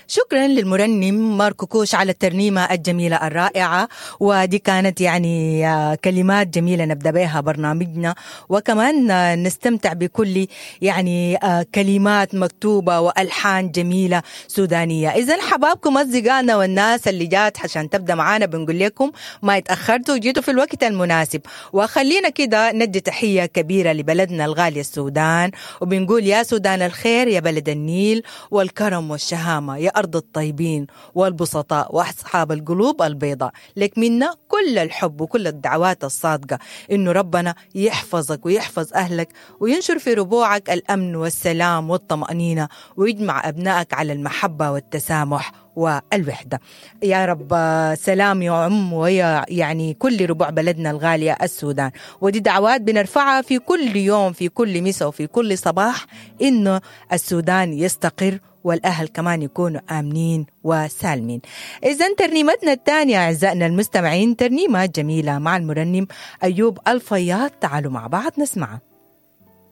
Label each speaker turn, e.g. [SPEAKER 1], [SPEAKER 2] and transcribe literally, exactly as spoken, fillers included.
[SPEAKER 1] شكرا للمرنم ماركو كوش على الترنيمة الجميلة الرائعة، ودي كانت يعني كلمات جميلة نبدأ بها برنامجنا، وكمان نستمتع بكل يعني كلمات مكتوبة وألحان جميلة سودانية. إذا حبابكم أصدقائنا والناس اللي جات عشان تبدأ معانا، بنقول لكم ما اتأخرتوا وجيتوا في الوقت المناسب. وخلينا كده ندي تحية كبيرة لبلدنا الغالي السودان، وبنقول يا سودان الخير، يا بلد النيل والكرم والشهامة، يا أرض الطيبين والبسطاء وأصحاب القلوب البيضاء، لك منا كل الحب وكل الدعوات الصادقة إنه ربنا يحفظك ويحفظ أهلك وينشر في ربوعك الأمن والسلام والطمأنينة، ويجمع أبنائك على المحبة والتسامح والوحدة. يا رب سلام يعم ويا يعني كل ربوع بلدنا الغالية السودان. ودي دعوات بنرفعها في كل يوم، في كل مساء وفي كل صباح، إنه السودان يستقر والأهل كمان يكونوا آمنين وسالمين. إذن ترنيمتنا الثانية أعزائنا المستمعين ترنيمة جميلة مع المرنم أيوب الفياض، تعالوا مع بعض نسمعها.